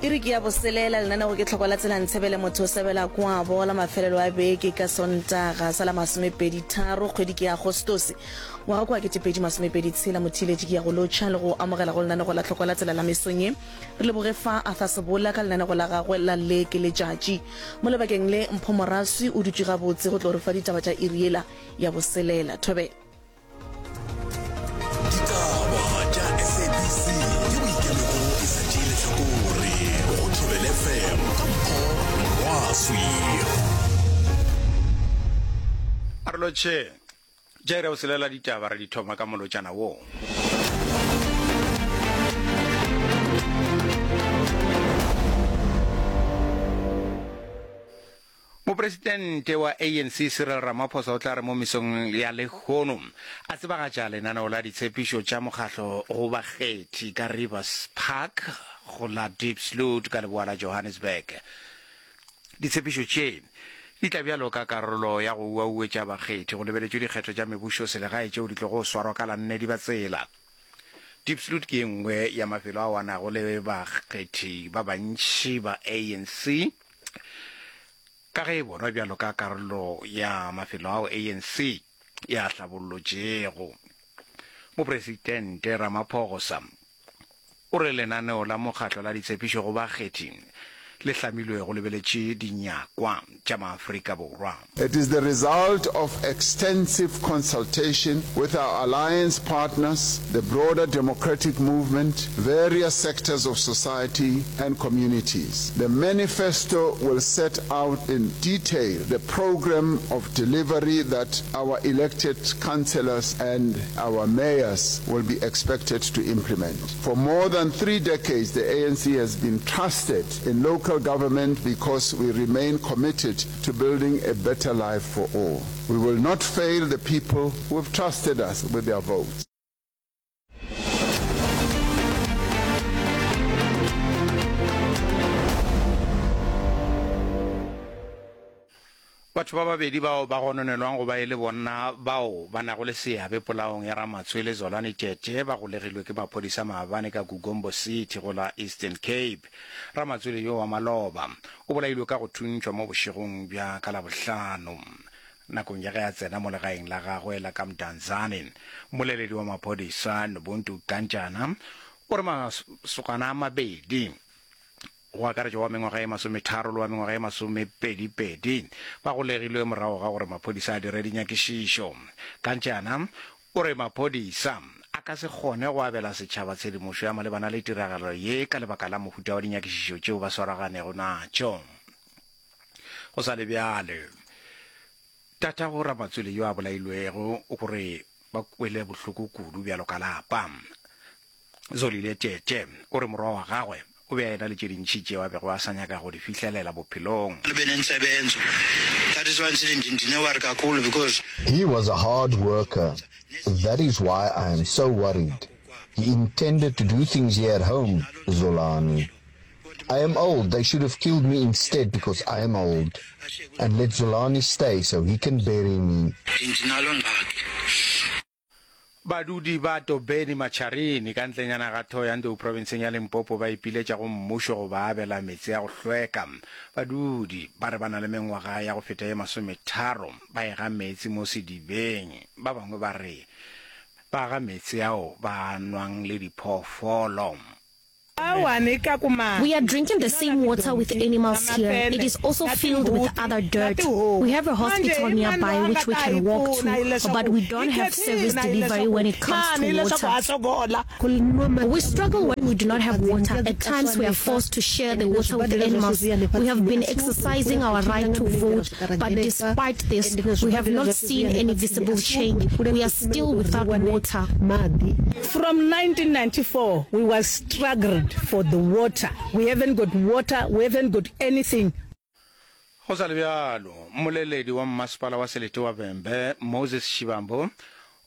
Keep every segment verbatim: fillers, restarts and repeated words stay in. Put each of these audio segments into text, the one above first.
Iri ke ya boselela, lenanego ke Tlhoko la Tsela Ntshebele motho o sebela kwabo la mafelelo a beke ka Sontaga sa la masomepedi tharo kgwedi ke ya Agostose ngwaga kwa ketepedi masomepedi tshela. Motheeletši ke ya go lotšha le go amogela go lenanego la Tlhoko la Tsela la mesong ye. Re leboge fa Arthur Sebola ka lenanego la gagwe la Le ke Letšatši. Mo lebakeng le Mpho Moraswi o dutše gabotse go tlo re fa ditaba tša iri yela ya boselela. Thobela. Ditaba tša S A B C ye boikemego e sa tšee lehlakore go Thobela F M ka Mpho Morwaswi. A re lotšhe. Tša iri ya boselela ditaba re di thoma ka molotšana wo. Mopresidente wa A N C Cyril Ramaphosa o tla re mo mesong ya lehono a tsebagatša lenaneo la ditshepišo tša mokgahlo go bakgethi ka Rivers Park go la Diepsloot ka leboa la Johannesburg. Ditshepišo tše di tla bjalo ka karolo ya go uauetša bakgethi go lebeletšwe dikgetho tša mebušo selegae tšeo di tlogo swarwa ka la nne Dibatsela. Diepsloot ke e nngwe ya mafelo ao a nago le bakgethi ba bantši ba A N C ka ge e bonwa bjalo ka karolo ya mafelo ao A N C ya hlabollotšego. Mopresidente Ramaphosa o re lenaneo la mokgatlo la ditshepišo go bakgethi le hlamilwe go lebeletše dinyakwa tša maAfrika Borwa. It is the result of extensive consultation with our alliance partners, the broader democratic movement, various sectors of society and communities. The manifesto will set out in detail the program of delivery that our elected councillors and our mayors will be expected to implement. For more than three decades, the A N C has been trusted in local government because we remain committed to building a better life for all. We will not fail the people who have trusted us with their votes. Batho ba babedi bao ba gononelwang go ba e le bonna bao ba nago le seabe polaong ya Ramatswele Zolani Tete ba golegilwe ke maphodisa maabane ka Kugombo City go la Eastern Cape. Ramatswele yo wa maloba o bolailwe ka go thuntšhwa mo bošegong bja ka Labohlano nakong ya ge a tsena mo legaeng la gagwe la ka Mdantsane. Mmoleledi wa maphodisa Nobuntu Kantjana o re masogana a mabedi, go akaretša wa mengwaga e masometharo le wa mengwaga e masomepedi-pedi, ba golegilwe morago ga gore maphodisa a dire dinyakišišo. Kantjana o re maphodisa a ka se kgone go abela setšhaba tshedimošo ya malebana le tiragalo ye ka lebaka la mohuta wa dinyakišišo tšeo ba swaraganego natšo. Go sa le bjale, tatago Ramatswele yo a bolailwego o re ba kwele bohloko kudu bjalo ka lapa. Zolile Tete o re morwa wa gagwe o be a ena le tše dintši tšeo a bego a sa nyaka go di fihlelela bophelong. That is why ndine-worry kakhulu because He was a hard worker. That is why I am so worried. He intended to do things here at home, Zolani. I am old. They should have killed me instead because I am old. And let Zolani stay so he can bury me. Ndinalo ngxaki. Badudi ba Tobeni Matšharini ka ntlenyana ga Thohoyandou profenseng ya Limpopo ba ipiletša go mmušo go ba abela meetse a go hlweka. Badudi ba re ba na le mengwaga ya go feta ye masometharo ba ega meetse mo sedibeng. Ba bangwe ba re ba ga meetse ao ba a nwang le diphoofolo. We are drinking the same water with animals here. It is also filled with other dirt. We have a hospital nearby which we can walk to, but we don't have service delivery when it comes to water. We struggle when we do not have water. At times we are forced to share the water with animals. We have been exercising our right to vote, but despite this, we have not seen any visible change. We are still without water. From nineteen ninety-four, we was struggled for the water. We haven't got water, we haven't got anything. Go sa le bjalo, mmoleledi wa mmasepala wa selete wa Vhembe, Moses Shivambu,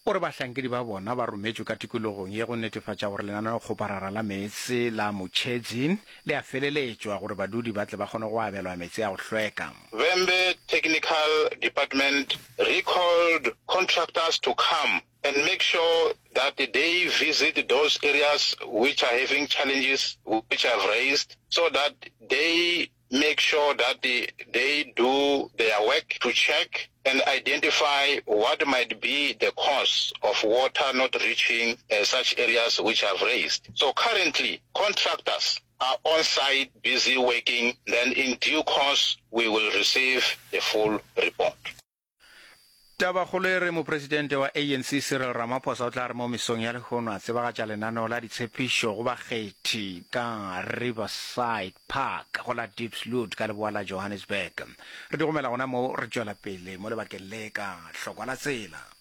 o re bahlankedi ba bona ba rometšwe ka tikologong ye go netefatša gore lenaneokgoparara la meetse la Mutshedzi le a feleletšwa gore badudi ba tle ba kgone go abelwa meetse a go hlweka. Vhembe Technical Department recalled contractors to come and make sure that they visit those areas which are having challenges which I've raised so that they make sure that they, they do their work to check and identify what might be the cause of water not reaching uh, such areas which I've raised. So currently, contractors are on site busy working. Then in due course, we will receive the full report. Tabakgolo e re Mopresidente wa A N C Cyril Ramaphosa o tla re mo mesong ya lehono a tsebagatša lenaneo la ditshepišo go bakgethi ka Riverside Park go la Diepsloot ka leboa la Johannesburg. Re di gomela gona moo re tšwela pele mo lebakeng le ka hlokwa la tsela.